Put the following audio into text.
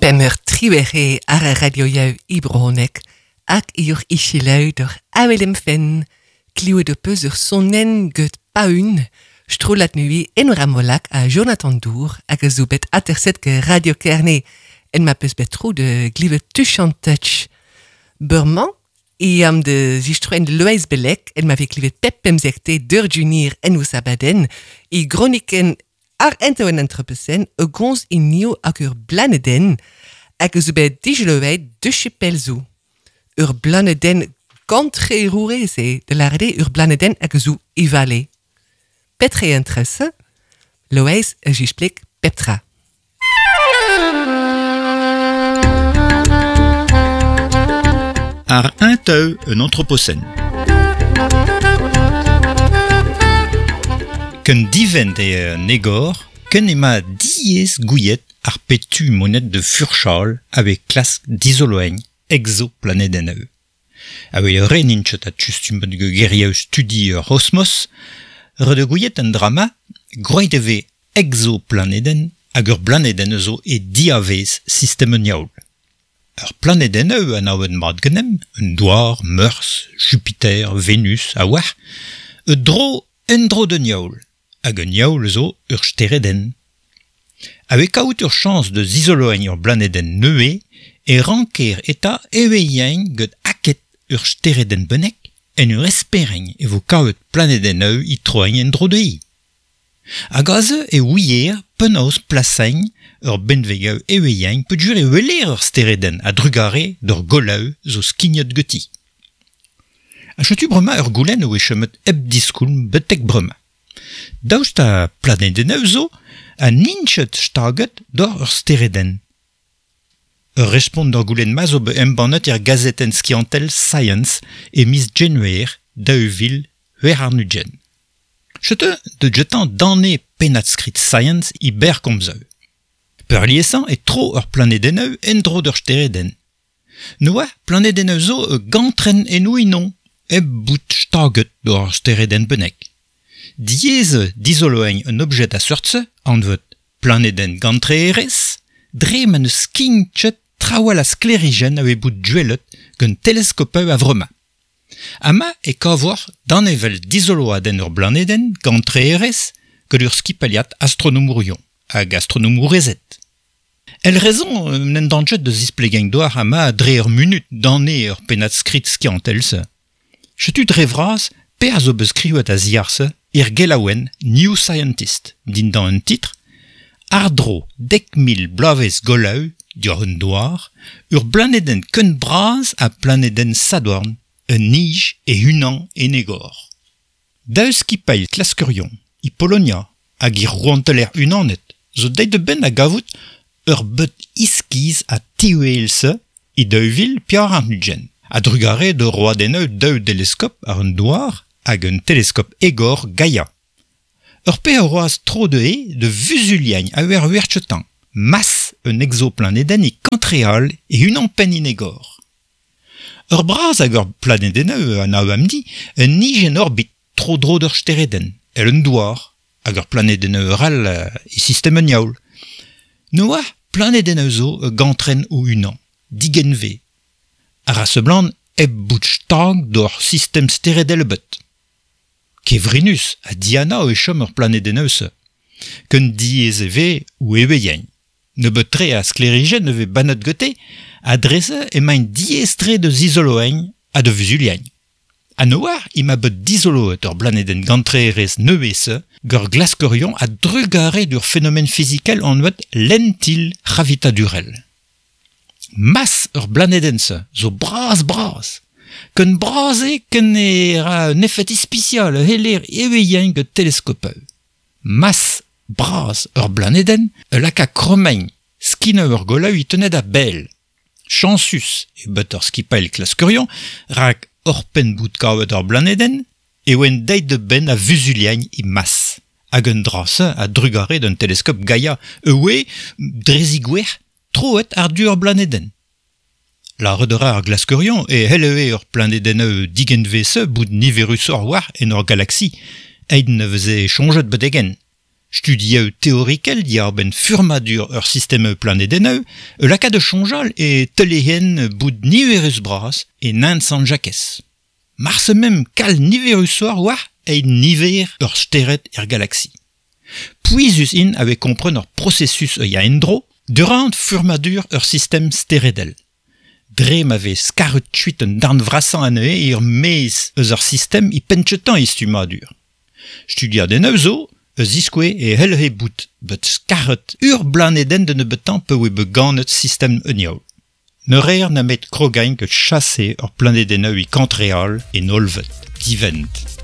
Pemmer triwec'h eo ar ar radioioù e brezhoneg hag eo iselaou d'ur avel em fenn. Klevet ho peus ur sonenn get Paun, strollad nevez Enora Molac ha Jonathan Dour hag a zo bet aterset get Radio Kerne en ma peus bet tro de glevet Touch an Touch. Bremañ e am de zistroen Loeiz Bellec en ma vez klevet pep pemzekte d'ur junior en o sabadenn e groniken ar entaouen entrepesen e gomz e nio hag ur blanedenn hag a zo bet dijelevet de chepel zo. Ur blanedenn gantrerourez eo, da lâret eo ur blanedenn hag a zo e vale. Petra eo an tres-se? Loeiz a zispleg pep tra. Ar un un anthropocène. Ken divent eo an egor, ken ema diaes gouiet ar petu monet de furchal ave klask dizoloeiñ exoplanedennoù. Ave re n'int a tustum gerioù studi ur c'hosmos, re de gouiet an drama, groet e vez exoplanedenn hag ur blanedenn zo e diavez sistem un yaoul. Ur planedenn an awen mat genem, un douar, Meurzh, Jupiter, Venus, a war, e dro en dro d'un yaoul, hag un yaoul zo ur steredenn. Ave kaout ur chañs de zizoloeiñ ur blanedenn neuze e ranker eta evezhiañ get aked ur steredenn bennek en ur espereñ e vo kaout planedenn eu e troiñ en dro dezhi. Hag aze e ouier penaos plasañ ur benveg evezhiañ peogwir e weler ur steredenn a drugare d'ur golaou zo skignet ganti. Ha setu bremañ ur goulenn o chomet hep diskoulm betek bremañ. Daoust ha planedennoù zo ha n'int ket staget doc'h ur steredenn. Ur respont d'ur goulenn-ma zo bet embannet er gazetenn skiantel Science e miz Genver 2020. Setu de jetañ danne pennad-skrid Science e berr komzoù. Peurliesañ e tro ur planedennoù en-dro d'ur steredenn. Noa planedennoù zo gantren en o unan, hep bout staget d'ur steredenn bennak. Diaes dizoloeiñ un objet a seurt-se, anvet planedenn gantreerez, dre ma n'eus skign ket trawal a sklêrijenn a vez bout duellet gant teleskopoù a-vremañ. Amañ e kavoc'h danevell dizoloadenn ur blanedenn gantreerez gant ur skipailhad astronomourion hag astronomourezed. El rezon n'en dan ket da zisplegañ doar amañ dre ur munut danne ur pennad-skrid skiantel-se. Setu dre vras perzh zo bet skrivet a-ziàr-se er gelaouenn New Scientist dindan un titr Àr-dro 10,000 bloavezh golaou diwar un douar, ur blanedenn ken bras ha planedenn Sadorn, un nij e-unan en egor. Daou skipailh klaskerion, e Polonia hag e rouanteler unanet, zo deuet da benn a gavout ur beud iskiz ha tiwel-se e 2024. A-drugarez da roadennoù daou deleskop àr un douar hag un teleskop egor Gaia. Ur pezh a roas tro dezhe de vuzuliañ a ur werchetañ, mas un exoplanedenn e kantreal e unan-penn en egor. Ur bras hag ur planedennoù an amdi un nij en orbit tro-dro d'ur steredenn, el un douar, hag ur planedennoù all e sistem un yaoul. Noa planedennoù zo gantren o unan, digenvez. Ar a seblant hep bout stag d'ur sistem steredel ebet. Kevrinus ha dianav e chom ur planedennoù-se. Ken diaes e vez ou evezhiañ. Nebeut-tre a sklêrijenn e vez bannet gante, ha dre-se emaint diaes-tre da zizoloeiñ ha da vuzuliañ. Ha noar ema bet dizoloet ur blanedenn gantreerez nevez-se gant glaskerion a drugarez d'ur fenomen fizikel anvet lentil c'hravitadurel. Mas ur blanedenn-se zo bras-bras. Ken bras eo ken e ra un efed ispisial heller evezhiañ gant teleskopoù. Mas bras ur blanedenn a laka krommañ skinoù ur golaou e tenet a-bell. Chañsus eo bet ur skipailh klaskerion rak oc'hpenn bout kavet ur blanedenn e oant deuet da benn a vuzuliañ e mas. Hag un dra-se a drugarez d'un teleskop Gaia e oe dre zigouezh troet àr-du ur blanedenn. Lâret a ra ar glaskerion e c'hellehe ur planedennoù digenvez-se bout niverusoc'h war en ur galaksi, aet ne veze soñjet betek-henn. Studieu teorikel diar-benn furmadur ur sistem planedenneu, e laka de chonjal e telehen bout niverus bras e nint Sant Jakes. Marse mem kal niverusor war e niver ur steret er galaxie. Pouizus in ave kompren ur processus e ya endro, durant furmadur ur sistem steredel. Dre ma vez skaret tuit un darn vrasañ anezhe ur maez eus ar sistem i penchetan e stumadur. Studiadennoù zo, eus iskoe e hellhe bout bet skaret ur blanedenn de nebeutañ pe oe bet ganet sistem un yaou. Ne reer nemet krogain ket chase ur planedennoù i kantreal en olvet, divent.